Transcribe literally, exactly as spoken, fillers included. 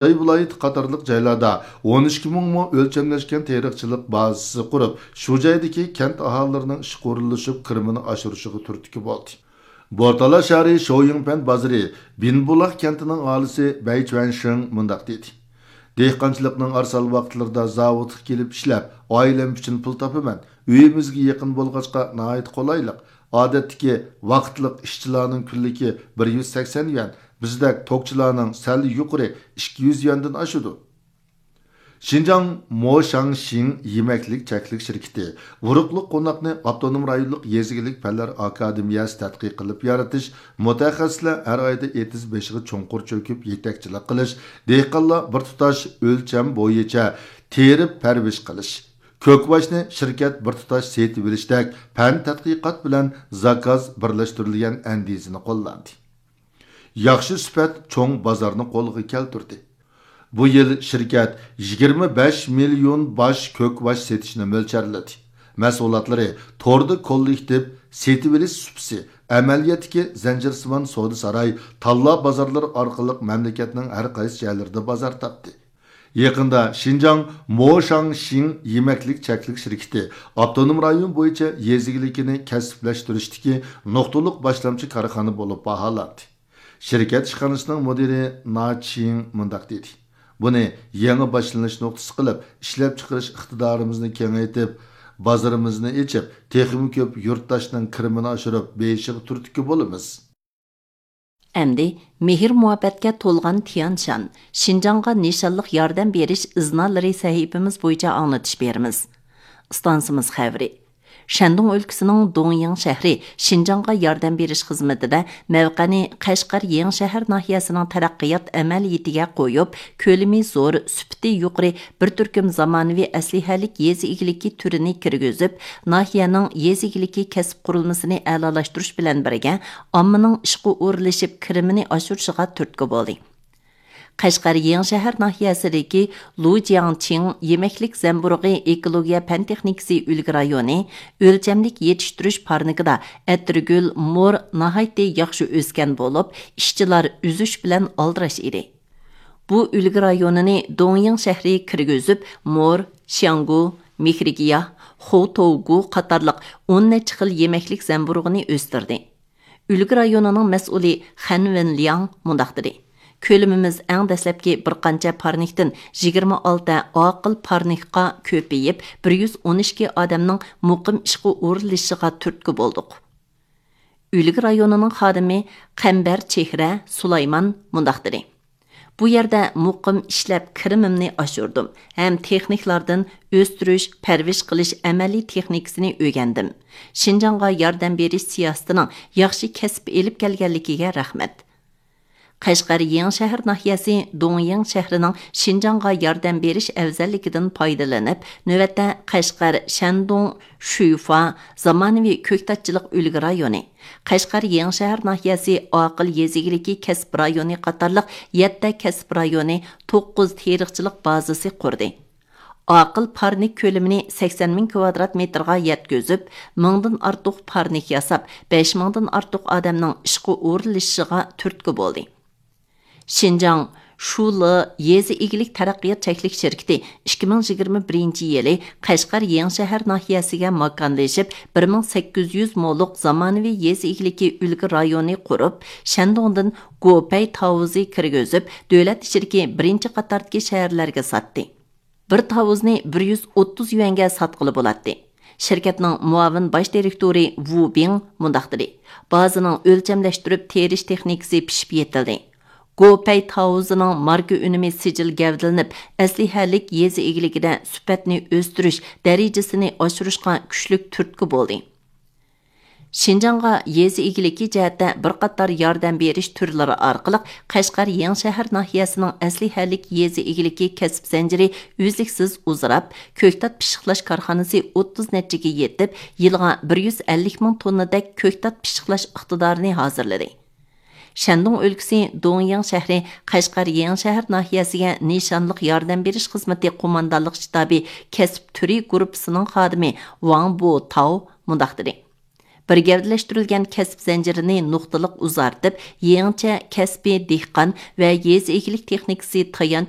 خۇجاي ۋىلايىتى قاتارلىق جايلاردا ئون ئىككى مىڭ مو ئۆلچەملەشكەن تېرىقچىلىق بازىسى قۇرۇپ، شۇ جايدىكى كەنت ئاھالىلىرىنىڭ ئىشقا ئورۇنلىشىپ، كىرىمىنى ئاشۇرۇشىغا تۈرتكە بولدى. بورتالا شەھىرى شويىڭپەن بازىرى بىنبۇلاق كەنتىنىڭ ئاھالىسى بەي چۈەنشىڭ مۇنداق دېدى: دېھقانچىلىقنىڭ ئارىسال ۋاقىتلىرىدا زاۋۇتقا كېلىپ ئىشلەپ، ئائىلەم ئۈچۈن پۇل تاپىمەن. ئۆيىمىزگە يېقىن بولغاچقا ناھايىتى قولايلىق. ئادەتتىكى ۋاقىتلىق ئىشچىلارنىڭ كۈنلۈكى بىر يۈز سەكسەن يۈەن، بىزدەك توكچىلارنىڭ سەل يۇقىرى ئىككى يۈز يۈەندىن ئاشىدۇ. شىنجاڭ موشاڭشىڭ يېمەكلىك چەكلىك شىركىتى ئۇرۇقلۇق قوناقنى ئاپتونوم رايونلۇق يېزا ئىگىلىك پەنلەر ئاكادېمىيەسى تەتقىق قىلىپ يارىتىش، مۇتەخەسسىسلەر ھەر ئايدا ئېتىز بېشىغا چوڭقۇر چۆكۈپ يېتەكچىلىك قىلىش، دېھقانلار بىر تۇتاش ئۆلچەم بويىچە تېرىپ پەرۋىش قىلىش، كۆكۋاچنى شىركەت بىر تۇتاش سېتىۋېلىشتەك پەن تەتقىقات بىلەن زاكاز بىرلەشتۈرۈلگەن ئەندىزىنى قوللاندى. ياخشى سۈپەت چوڭ بازارنى قولغا كەلتۈردى. بۇ يىل شىركەت يىگىرمە بەش مىليون باش كۆكۋاچ سېتىشنى مۆلچەرلىدى. مەھسۇلاتلىرى توردا كوللېكتىپ سېتىۋېلىش سۇپىسى، ئەمەلىيەتتىكى زەنجىرسىمان سودا ساراي، تاللا بازارلىرى ئارقىلىق مەملىكەتنىڭ ھەر قايسى جايلىرىدا بازار تاپتى. يېقىندا شىنجاڭ موشاڭشىڭ يېمەكلىك چەكلىك شىركىتى ئاپتونوم رايون بويىچە يېزا ئىگىلىكىنى كەسىپلەشتۈرۈشتىكى نۇقتىلىق باشلامچى كارخانا بولۇپ باھالاندى. شىركەت ئىشخانىسىنىڭ مۇدىرى نا چىڭ مۇنداق دېدى: بۇنى يېڭى باشلىنىش نۇقتىسى قىلىپ، ئىشلەپچىقىرىش ئىقتىدارىمىزنى كېڭەيتىپ، بازىرىمىزنى ئېچىپ، تېخىمۇ كۆپ يۇرتداشنىڭ كىرىمىنى ئاشۇرۇپ بېيىشىغا تۈرتكە بولىمىز. ئەمدى مېھىر-مۇھەببەتكە تولغان تيەنشان، شىنجاڭغا نىشانلىق ياردەم بېرىش ئىزنالىرى سەھىپىمىز بويىچە ئاڭلىتىش بېرىمىز. ئىستانسىمىز خەۋىرى. شەندۇڭ ئۆلكىسىنىڭ دۇڭيىڭ شەھىرى شىنجاڭغا ياردەم بېرىش خىزمىتىدە مەۋقەنى قەشقەر يېڭىشەھەر ناھىيەسىنىڭ تەرەققىيات ئەمەلىيىتىگە قويۇپ، كۆلىمى زور، سۈپىتى يۇقىرى بىر تۈركۈم زامانىۋى ئەسلىھەلىك يېزا ئىگىلىكى تۈرىنى كىرگۈزۈپ، ناھىيەنىڭ يېزا ئىگىلىكى كەسىپ قۇرۇلمىسىنى ئەلالاشتۇرۇش بىلەن بىرگە، ئاممىنىڭ ئىشقا ئورۇنلىشىپ، كىرىمىنى ئاشۇرۇشىغا تۈرتكە بولدى. قەشقەر يېڭىشەھەر ناھىيەسىدىكى لۇ جياڭچىڭ يېمەكلىك زەمبۇرۇغى ئېكولوگىيە پەن تېخنىكىسى ئۈلگە رايونى ئۆلچەملىك يېتىشتۈرۈش پارنىكىدا ئەتىرگۈل، مور ناھايىتى ياخشى ئۆسكەن بولۇپ، ئىشچىلار ئۈزۈش بىلەن ئالدىراش ئىدى. بۇ ئۈلگە رايونىنى دۇڭيىڭ شەھىرى كىرگۈزۈپ، مور، شياڭگۇ، مېھرىگىياھ، خوتوۋگۇ قاتارلىق ئون نەچچە خىل يېمەكلىك زەمبۇرۇغىنى ئۆستۈردى. ئۈلگە رايونىنىڭ مەسئۇلى خەن ۋېنلياڭ مۇنداق دېدى: كۆلىمىمىز ئەڭ دەسلەپكى بىر قانچە پارنىكتىن يىگىرمە ئالتە ئاقىل پارنىكقا كۆپىيىپ، بىر يۈز ئون ئىككى ئادەمنىڭ مۇقىم ئىشقا ئورۇنلىشىشىغا تۈرتكە بولدۇق. ئۈلگە رايونىنىڭ خادىمى قەمبەر چېھرە سۇلايمان مۇنداق دېدى: بۇ يەردە مۇقىم ئىشلەپ كىرىمىمنى ئاشۇردۇم ھەم تېخنىكلاردىن ئۆستۈرۈش، پەرۋىش قىلىش ئەمەلىي تېخنىكىسىنى ئۆگەندىم. شىنجاڭغا ياردەم بېرىش سىياسىتىنىڭ ياخشى كەسىپ ئېلىپ كەلگەنلىكىگە رەھمەت. قەشقەر يېڭىشەھەر ناھىيەسى دۇڭيىڭ شەھىرىنىڭ شىنجاڭغا ياردەم بېرىش ئەۋزەللىكىدىن پايدىلىنىپ، نۆۋەتتە قەشقەر، شەندۇڭ، شۈيفا، زامانىۋى كۆكتاتچىلىق ئۈلگە رايونى، قەشقەر يېڭىشەھەر ناھىيەسى ئاقىل يېزا ئىگىلىكى كەسىپ رايونى قاتارلىق يەتتە كەسىپ رايونى، توققۇز تېرىقچىلىق بازىسى قۇردى. ئاقىل پارنىك كۆلىمىنى سەكسەن مىڭ كۋادرات مېتىرغا يەتكۈزۈپ، مىڭدىن ئارتۇق پارنىك ياساپ، بەش مىڭدىن ئارتۇق ئادەمنىڭ ئىشقا ئورۇنلىشىشىغا تۈرتكە بولدى. شىنجاڭ شۇلې يېزا ئىگىلىك تەرەققىيات چەكلىك شىركىتى ئىككى مىڭ يىگىرمە بىرىنچى يىلى قەشقەر يېڭىشەھەر ناھىيەسىگە ماكانلىشىپ، بىر مىڭ سەككىز يۈز مولۇق زامانىۋى يېزا ئىگىلىكى ئۈلگە رايونى قۇرۇپ، شەندۇڭدىن گوپەي تاۋۇزى كىرگۈزۈپ، دۆلەت ئىچىدىكى بىرىنچى قاتاردىكى شەھەرلەرگە ساتتى. بىر تاۋۇزنى بىر يۈز ئوتتۇز يۈەنگە ساتقىلى بولاتتى. شىركەتنىڭ مۇئاۋىن باش دىرېكتورى ۋۇ بىڭ مۇنداق دېدى: بازىنىڭ ئۆلچەملەشتۈرۈپ تېرىش تېخنىكىسى پىشىپ يېتىلدى. گوپەي تاۋۇزىنىڭ ماركا ئۈنۈمى سىجىل گەۋدىلىنىپ، ئەسلىھەلىك يېزا ئىگىلىكىدە سۈپەتنى ئۆستۈرۈش، دەرىجىسىنى ئاشۇرۇشقا كۈچلۈك تۈرتكە بولدى. شىنجاڭغا يېزا ئىگىلىكى جەھەتتە بىر قاتار ياردەم بېرىش تۈرلىرى ئارقىلىق قەشقەر يېڭىشەھەر ناھىيەسىنىڭ ئەسلىھەلىك يېزا ئىگىلىكى كەسىپ زەنجىرى ئۈزلۈكسىز ئۇزىراپ، كۆكتات پىششىقلاش كارخانىسى ئوتتۇز نەچچىگە يېتىپ، يىلىغا بىر يۈز ئەللىك مىڭ توننىدەك كۆكتات پىششىقلاش ئىقتىدارىنى ھازىرلىدى. شەندۇڭ ئۆلكىسى دۇڭيىڭ شەھىرى قەشقەر يېڭىشەھەر ناھىيەسىگە نىشانلىق ياردەم بېرىش خىزمىتى قوماندانلىق شتابى كەسىپ تۈرى گۇرۇپپىسىنىڭ خادىمى ۋاڭ بو تاۋ مۇنداق دېدى: بىر گەۋدىلەشتۈرۈلگەن كەسىپ زەنجىرىنى نۇقتىلىق ئۇزارتىپ، يېڭىچە كەسپىي دېھقان ۋە يېزا ئىگىلىك تېخنىكىسى تايانچ